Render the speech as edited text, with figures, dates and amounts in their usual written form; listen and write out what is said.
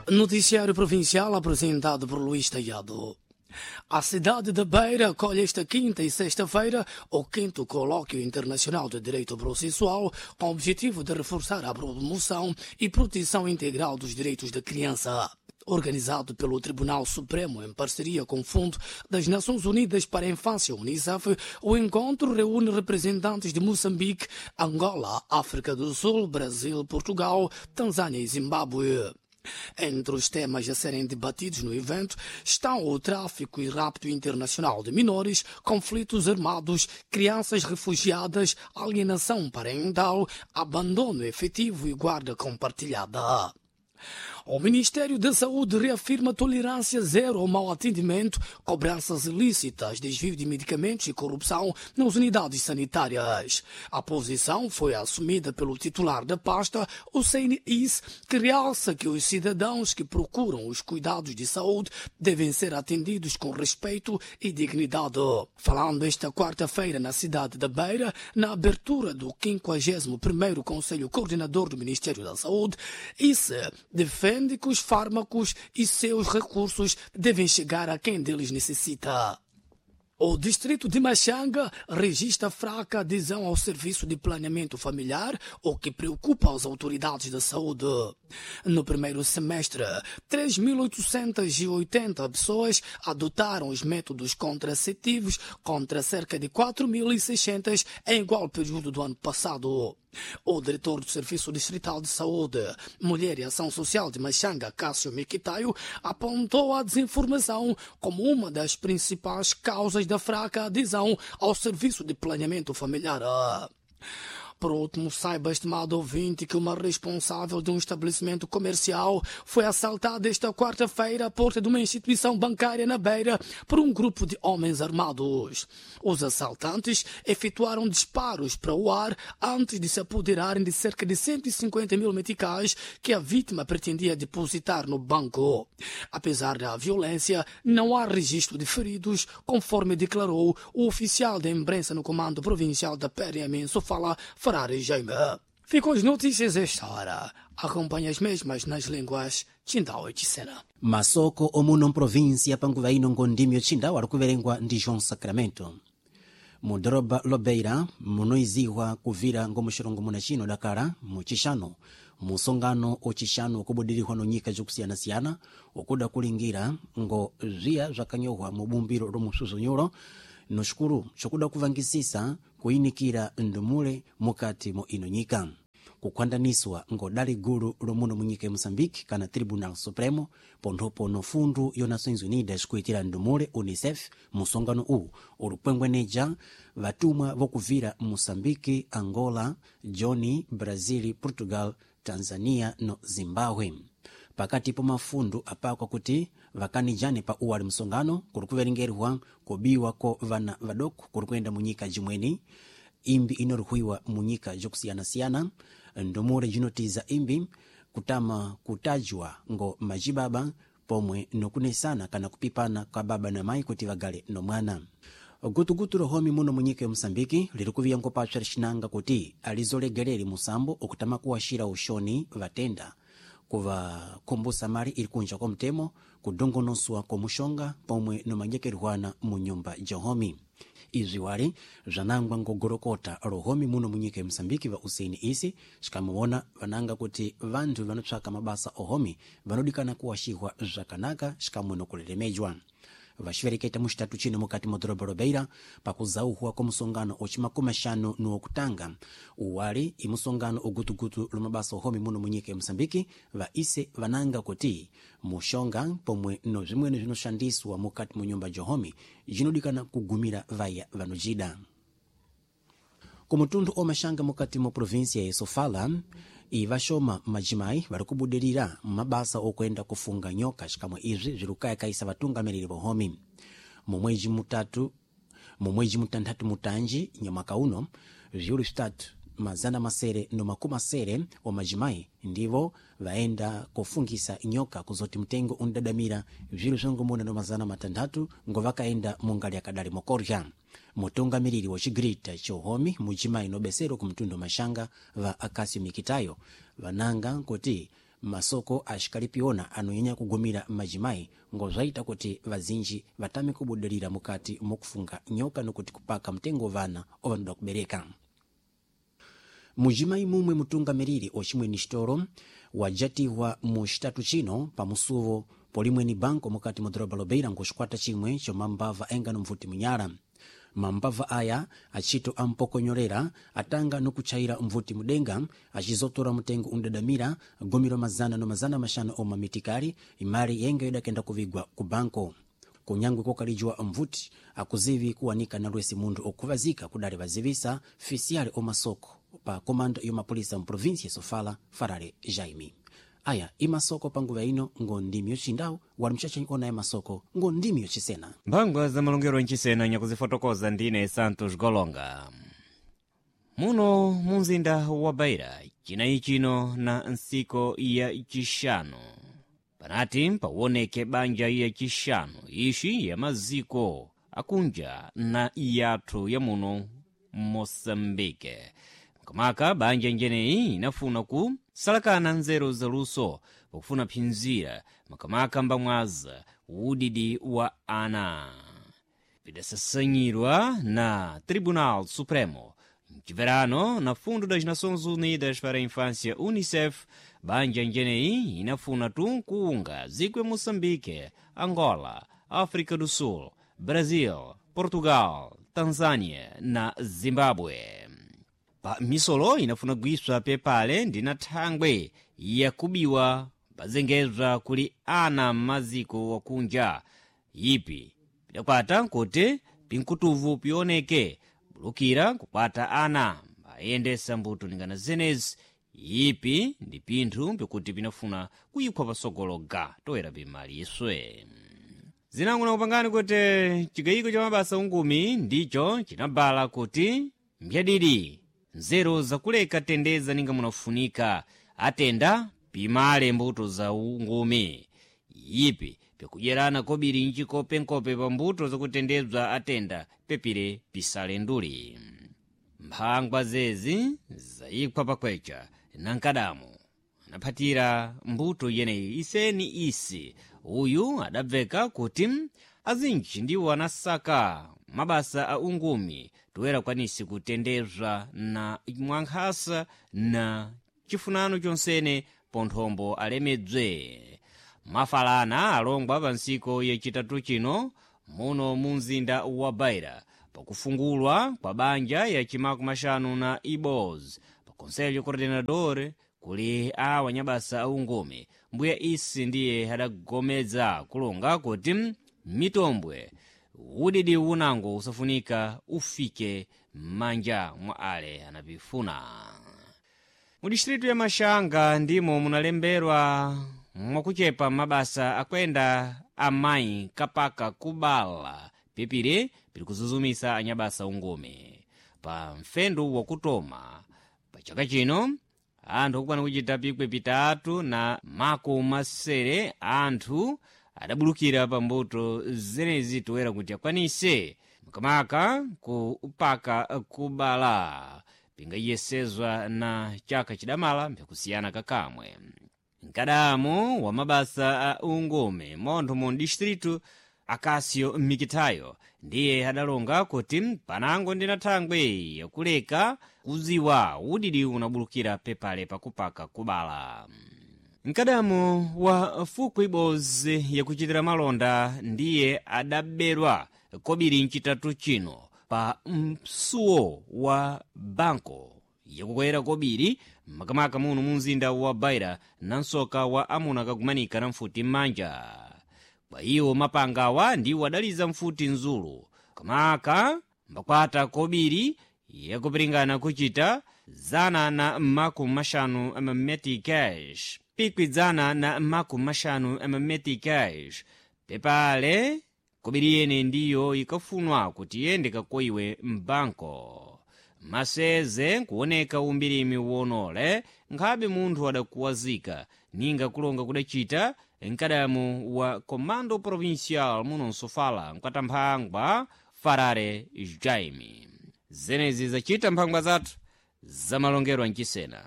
Noticiário Provincial apresentado por Luís Taiado. A cidade de Beira acolhe esta quinta e sexta-feira o quinto Colóquio Internacional de Direito Processual, com o objetivo de reforçar a promoção e proteção integral dos direitos da criança. Organizado pelo Tribunal Supremo em parceria com o Fundo das Nações Unidas para a Infância, Unicef, o encontro reúne representantes de Moçambique, Angola, África do Sul, Brasil, Portugal, Tanzânia e Zimbábue. Entre os temas a serem debatidos no evento estão o tráfico e rapto internacional de menores, conflitos armados, crianças refugiadas, alienação parental, abandono efetivo e guarda compartilhada. O Ministério da Saúde reafirma tolerância zero ao mau atendimento, cobranças ilícitas, desvio de medicamentos e corrupção nas unidades sanitárias. A posição foi assumida pelo titular da pasta, Hussein Is, que realça que os cidadãos que procuram os cuidados de saúde devem ser atendidos com respeito e dignidade. Falando esta quarta-feira na cidade da Beira, na abertura do 51º Conselho Coordenador do Ministério da Saúde, Is defende que os fármacos e seus recursos devem chegar a quem deles necessita. O distrito de Machanga registra fraca adesão ao serviço de planeamento familiar, o que preocupa as autoridades da saúde. No primeiro semestre, 3.880 pessoas adotaram os métodos contraceptivos contra cerca de 4.600 em igual período do ano passado. O diretor do Serviço Distrital de Saúde, Mulher e Ação Social de Machanga, Cássio Miquitaio, apontou a desinformação como uma das principais causas da fraca adesão ao serviço de planeamento familiar. Por último, saiba, estimado ouvinte, que uma responsável de um estabelecimento comercial foi assaltada esta quarta-feira à porta de uma instituição bancária na Beira por um grupo de homens armados. Os assaltantes efetuaram disparos para o ar antes de se apoderarem de cerca de 150 mil meticais que a vítima pretendia depositar no banco. Apesar da violência, não há registro de feridos, conforme declarou o oficial da imprensa no Comando Provincial da PRM em Sofala, Ferrari Jaime. Ficam as notícias esta hora. Acompanhe as mesmas nas línguas Chindao e Chisena. Masoko omuno mprovinsi panguva ino ngondimi yotchindawo ali kuverengwa ndi João Sacramento. Mu doroba lobeira munoizihwa kuvira ngomuxirongomuna cino dakala mucixano musongano ocixano okubudirihwa no nyika zokusiyanasiyana okuda kulingira ngo zwiya zwakanyohwa mu bumbiro lomusuzunyulo noxikulu xokuda kuvangisisa kuyinikira ndumule mukati mo ino nyika kukhwandaniswa ngodali gulu lomuno munyika ya Moçambique kana Tribunal Supremo ponthopo no fundu yo Nações Unidas kuitira ndumule UNICEF. Musongano uwu ulipwengweneja vatumwa vokuvira Moçambique, Angola, Joni, Brasil, Portugal, Tanzania no Zimbabwe. Pakati pa mafundu apakwa kuti vakanijane pa uwali msongano kuli kuverengerwa kubiwa ko vana vadoko kuli kuyenda munyika jimweni, imbi inoruhwiwa munyika jokusiyanasiyana, ndumule jinotiza imbi kutama kutajwa ngo majibaba pomwe nokunesana kana kupipana kwa baba na mai kuti vagale no mwana. Gutugutu lohomi muno munyika ya Moçambique liri kuviya ngopapsa lixinanga kuti alizolegeleri musambo okutama kuwaxira uxoni vatenda kuvakhumbusa mali ili kunja kwa mtemo, kudongonoswa kwa muxonga pomwe nomanyekerwana mu nyumba jahomi. Izwi wali zvanangwa ngogorokota lohomi muno munyika ya Moçambique va Usaini Isi xikamuwona vananga kuti vanthu vanopsaka mabasa ohomi vanodikana kuwaxihwa zvakanaka xikamwe nokulelemejwa. Vaxivereketa muxitatu chino mukati mo doroba lobeira pakuzauhwa kwa musongano ochimakumi axanu niwokutanga uwali imusongano ogutugutu lomabasa ohomi muno munyika ya Moçambique. Vaise vananga kuti muxonga pomwe no zvimwene zvinoxandiswa mukati mu nyumba johomi jinodikana kugumira vaya vanojida. Kumutundu omaxanga mukati mo província ya Sofala, ivaxoma majimai vari kubudirira mabasa okuenda kufunga nyoka, xikamwe izvi zviri kukayakaisa vatungamiriri vohomi. Mumwedzi mutatu, mumwedzi mutanthatu mutanji nyamwaka uno, zviulu zvitatu mazana masere no makumi asere wa majimai ndivo vaenda kufungisa nyoka, kuzoti mtengo unidadamira zvilu zvongomuna no mazana matanthatu ngo vakaenda mungali yakadali mokorya. Mutungamiriri wa chigrita chohomi mujimai nobesero kumtundu mashanga va Akasio Mikitayo vananga kuti Masoko axikalipiona anonyenya kugumira majimayi ngozvaita kuti vazinji vatame kubudirira mukati mokufunga nyoka nokuti kupaka mtengo vana ovanoda kubereka. Mujimayi mumwe mutungamiriri ocimweni xitolo wajatiwa mu xitatu chino pamusuvo polimweni banko mukati mu doroba lobeira nkuxikwata chimwe chomambava enga nomvuti munyala. Mambava aya acito ampokonyolera atanga nokutchaira mvuti mudenga acizotora mutengo undadamira gomiro mazana no mazana maxanu oma mitikali imali yenga idakenda kuvigwa ku banko. Kunyangwe kokalijwa mvuti akuzivi kuwanika na lwesi munthu okhuvazika kudali vazivisa fisiali omasoko pa komando yomapolisa mprovinsia Sofala Farale Jaime. Aya imasoko panguva ino ngo ndimi yocindawu wali mchachanyi ona masoko ngo ndimi yocisena. Mphangwa za malongero ncisena nyakuzifotokoza ndine Santos Golonga. Muno munzinda wa Beira chinayi chino na nsiko ya chixanu panati pawoneke banja ya chixanu ixi ya maziko akunja na yathu ya muno Moçambique. Kamaka banja njeneyi inafuna ku salakana nzeru zaluso pakufuna phinzira makamaka mbamwaza udidi wa ana pidasasanyirwa na Tribunal Supremo mciverano na Fundo das Nações Unidas para a Infância UNICEF. Banja njeneyi inafuna tu kuunga zikwe Moçambique, Angola, África do Sul, Brasil, Portugal, Tanzânia na Zimbábue. Pa misolo inafuna kugwiswa pepale ndina thangwe yakubiwa pazengezwa kuli ana m'maziko wakunja ipi pidakwata nkuti pinkutuvu pioneke bulukira kukwata ana ayendesa mbuto ningana zenezi ipi ndi pinthu pikuti pinafuna kuyikhwa pasogolo ga toera pimali iswe. Zinango nakupangani kuti chigayiko cha mabasa ungumi ndicho chinabala kuti mbyadidi nzeru zakuleka tendeza ninga munafunika atenda pimale mbuto za ungumi ipi pikudyerana kobiri ncikopenkope pa mbuto zakutendezwa atenda pepire pisale nduli. Mphangwa zezi zayikhwa pakwecha na nkadamu anaphatira mbuto yeneyi iseni isi uyu adabveka kuti azinji ndiwo anasaka mabasa a ungumi toera kwanisi kutendezwa na mwankhasa na chifunano chonsene ponthombo alemedzwe. Mafalana alongwa pa ntsiko yacitatu chino muno mu mzinda wa Beira pakufungulwa kwa banja ya chimaku maxanu na ibos pa Conselho Coordenador kuli awa nyabasa a ungumi. Mbuya isi ndiye adagomedza kulonga kuti mitombwe udidi unango usafunika ufike m'manja mwa ale anapifuna. Mu distritu ya Maxanga ndimo munalemberwa mwakuchepa mabasa akwenda amayi kapaka kubala pipiri pili kuzuzumisa anyabasa ungumi pa mfendu wakutoma pa chaka chino anthu akukwana kuchita pikwe pitatu na mako masere anthu adabulukira pa mbuto zenezi toera kuti akwanise makamaka kupaka kubala pingayesezwa na chaka chidamala mpyakusiyana kakamwe. Nkadamo wa mabasa a ungumi montho mu distritu Akasio Mikitayo ndiye adalonga kuti panango ndina thangwe yakuleka kuziwa udidi unabulukira pepale pakupaka kubala. Mkadamo wa fuku ibozi yakuchitira malonda ndiye adaberwa kobiri mchitatu chino pa msuwo wa banko yakukwera kobiri makamaka muno mu mzinda wa Beira na msoka wa amuna kakumanika na mfuti m'manja. Kwa iwo mapangawa ndiwo adaliza mfuti nzulu kamaka mbakwata kobiri yakupiringana kuchita zana na makumi maxanu amameti cash pikwi zana na makumi maxanu amameti cash pepale kobiri yene ndiyo ikafunwa kuti iyende kakoyiwe mbanko. Maseze nkuoneka umbirimi wonole nkhabe munthu adakuwazika ninga kulonga kudacita mkadamu wa Comando Provincial muno Nsofala mkatamphangwa Farare Jaime. Zenezi zacita mphangwa zathu zamalongero ancisena.